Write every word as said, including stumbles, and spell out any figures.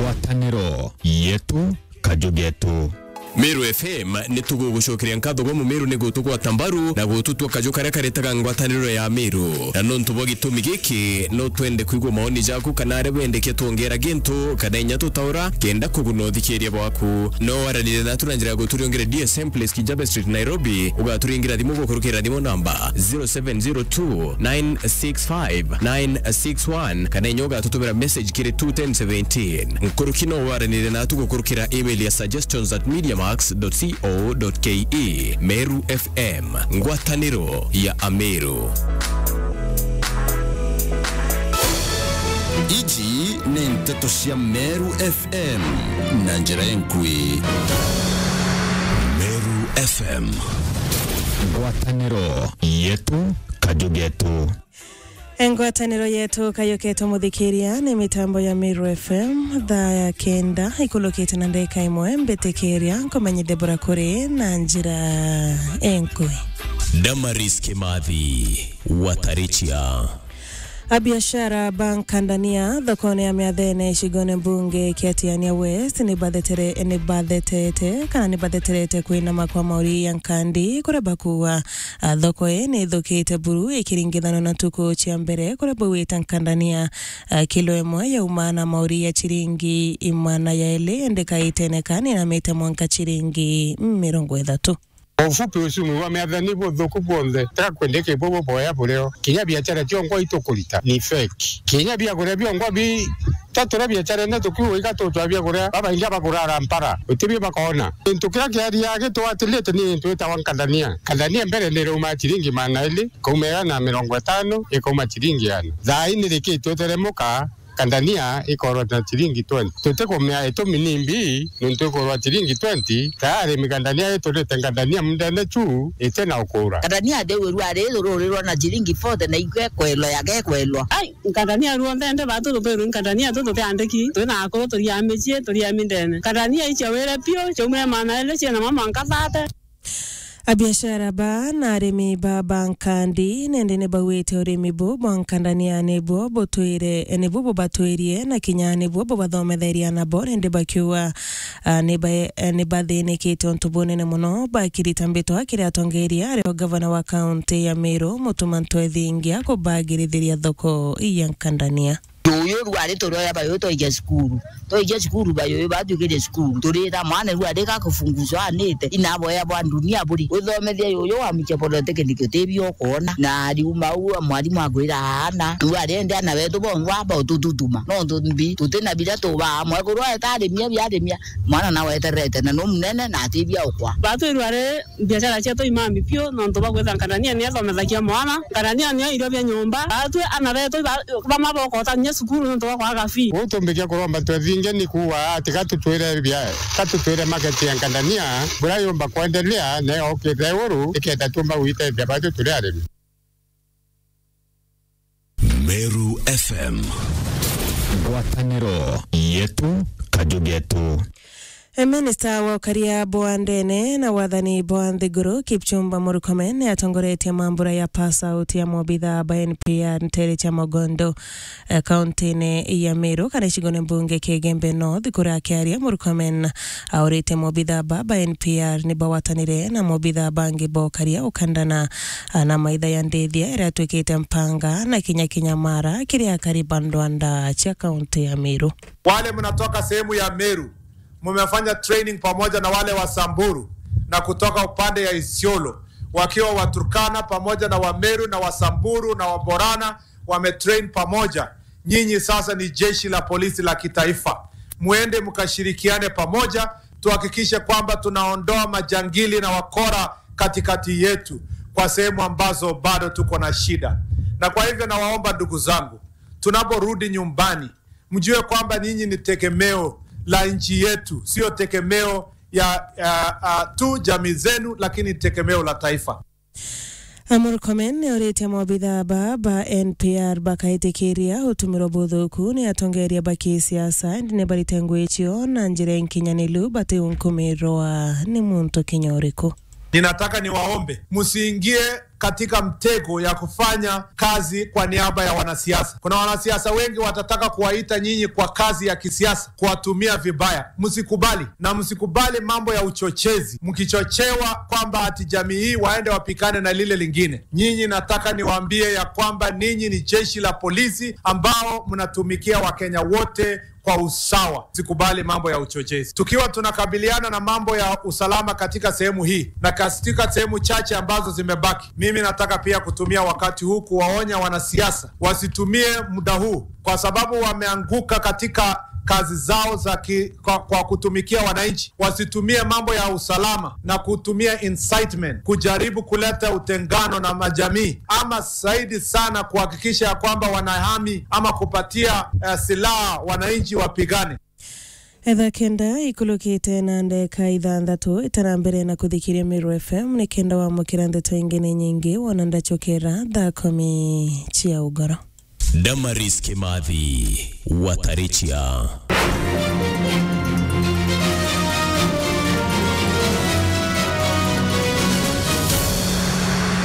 Ngwataniro yetu, kaju getu. Meru F M ni tugugucokeria nkatho gwa Mumeru ni gutugwata mbaru na gututua kaju karia karetaga ngwataniro ya Meru. Na nontu bwa gitumi giki, no twende kwigua maoni jaku kana aria wendekia twongera gintu kana inya tutaura kenda kuguna uthikiria bwaku. No waranire natu na njira ya guturiongere D S M Place Kijabe Street, Nairobi, ugaturingira thimu gukurukira thimu namba zero seven zero two nine six five nine six one, kana inya ugatutumira message kiri two ten seventeen. Nkuruki no waranire natu gukurukira email ya suggestions at mediamax dot co dot ke. Meru F M, ngwataniro ya Ameru. Iji ni nteto cia Meru F M na njira enkui. Meru F M, ngwataniro yetu, kaju getu. Ngwataniro yetu kayuketwe muthikiria ni mitambo ya Meru F M, thaa ya kenda ikulukite na ndeka imwe. Mbitikiria nkumenyithie bura kuri na njira enkui. Damaris Kimathi, Watarichia. Abiashara ba nkandania thokone ya Miathene icigone mbunge kia Tigania West ni bathetere-, ni bathetete kana ni batheterete kwinama kwa mauri ya nkandi kuria bakuuga, a, thoko ii ni ithukite buru ikiringithanwa na ntuku cia mbere kuria bauite nkandania, a, kilo imwe yauma na mauri ya chiringi imana ya ili, indi kaitene kani inamite mwanka chiringi mirongo ithatu. Kwa ufupi, uchumi wa Miathene ni buthuku bwonthe, tiga kwendeke bubu boya burio. Kinya biachara ciongwa itukurita ni fake. Kinya biakuria biongwa bi, twatura biacharene tukiuga iga tutwa biakuria, babaingi baguraga mpara, utibio bakona. Gintu kiria kiaria gitwatilite ni gintu gitagwa nkandania. Nkandania mbere ni irauma chiringi magana ili, ikauma igana na mirongo itano, ikauma chiringi igana. Thaa ii ni rikitwe teremuka, nkandania ikorwa na chiringi twenty. Tutikumea itumi ni mbii, nontu ikorwa chiringi twenty, tayari mikandania iturite nkandania mundene chu, ite na ukura. Nkandania ndeu irua ri rurirwa na chiringi forty na igwe kwelwa ya gekwelwa. Ai, nkandania ruonthe nde batu tutirwi nkandania tu tutiandiki, twi na akuru turia micii, turia mindene. Nkandania icia wire piu, ciaumire maana iri ciena mama nkabate. Abiashara ba na arimi ba, ba nkandi nende ni bauite urimi bu bwa nkandania nibuo butwire, nibuo bubatwirie na kinya nibuo bubathometheria nabo, nende bakiuga, a, ni ba-, ni bathinikite untu bunene muno, bakirita mbitwa kiri atongeria ario gavana wa kaunti ya Meru, Mutuma Ntwethingia, kubagirithiria thoko ya nkandania. Yuyu rwari turioya bayuyu twaija cukuru. Twaija cukuru bayuyu batuikirie cukuru. Turira mwana rwari gakufunguzwa anite. Inaboya bwa dunia buri. Withomethia yuyu wa muche polytechnic utibio ukwona. Na riuma u mwarimu akwira aana. Rwari ende ana betu bongwa aba utututuma. Nontu mbi tutina biria tubaa. Mwekuru aeta arimia biarimia. Mwana nawe eterete na nu munene na atibia ukwa. Batu rwari biashara cietu imami piu, nontu bwa kwitha nkandania ni ethomethagia mwana. Nkandania nio irio bia nyomba. Atwi ana betu iba-, bamwe bokotania cukuru nontu bwa kwaga fee. Uu tumbikia kuromba twethinge ni kuuga ati ka tutwire bia, ka tutwire market ya nkandania, buria yumba kwendelea, nayo ukite iguru, ikenda tumba gwitethia batu turi arimi. Meru F M. Ngwataniro yetu, kaju getu. E, minista wa ukaria bwa ndene na wathani bwa nthiguru, Kipchumba Murkomen, ni atongoretie mambura ya pass out ya mobithaa ba N P R ntere cia Mogondo, e, kauntine ya Meru, kana icigone mbunge kia Igembe North. Kuria akiaria, Murkomen aurite mobithaa ba, ba N P R ni bawatanire na mobithaa bangi ba ukaria ukandana, a, na maitha ya ndithia iria atuikite mpanga na kinya kinya mara kiri akari ba ndwanda cia kaunti ya Meru. Wale mnatoka sehemu ya Meru, mumefanya training pamoja na wale wa Samburu na kutoka upande ya Isiolo, wakiwa Waturkana pamoja na Wameru na Wasamburu na Waborana wametrain pamoja. Nyinyi sasa ni jeshi la polisi la kitaifa, muende mkashirikiane pamoja, tuhakikishe kwamba tunaondoa majangili na wakora katikati yetu kwa sehemu ambazo bado tuko na shida. Na kwa hivyo nawaomba ndugu zangu, tunaporudi nyumbani, mjue kwamba nyinyi ni tegemeo la nchi yetu, sio tegemeo ya, ya, ya tu jamii zenu, lakini tegemeo la taifa. A, Murkomen ni oritie mobithaa ba, ba N P R bakaitikiria utumirwa buthuku ni atongeria ba kisiasa, indi ni barite ngui cio na njira inkinyaniru batiunkumirwa ni muntu kinya uriku. Ninataka niwaombe, msiingie katika mtego ya kufanya kazi kwa niaba ya wanasiasa. Kuna wanasiasa wengi watataka kuwaita nyinyi kwa kazi ya kisiasa, kuwatumia vibaya. Msikubali, na msikubali mambo ya uchochezi, mkichochewa kwamba ati jamii hii waende wapikane na lile lingine. Nyinyi, nataka niwaambie ya kwamba ninyi ni jeshi la polisi ambao mnatumikia Wakenya wote kwa usawa. Sikubali mambo ya uchochezi. Tukiwa tunakabiliana na mambo ya usalama katika sehemu hii na katika sehemu chache ambazo zimebaki, mimi nataka pia kutumia wakati huu kuwaonya wanasiasa wasitumie muda huu, kwa sababu wameanguka katika kazi zao za ki, kwa, kwa kutumikia wananchi, wasitumie mambo ya usalama na kutumia incitement kujaribu kuleta utengano na majamii, ama zaidi sana kuhakikisha ya kwamba wanahami ama kupatia, eh, silaha wananchi wapigane. Etha kenda ikulukite na ndeka ithanthatu itara mbere na kuthikiria Meru F M, ni kenda wamukira ndeto ingi ni nyingi wona ndachokera thaa kumi cia ugoro. Damaris Kimathi, Watarichia.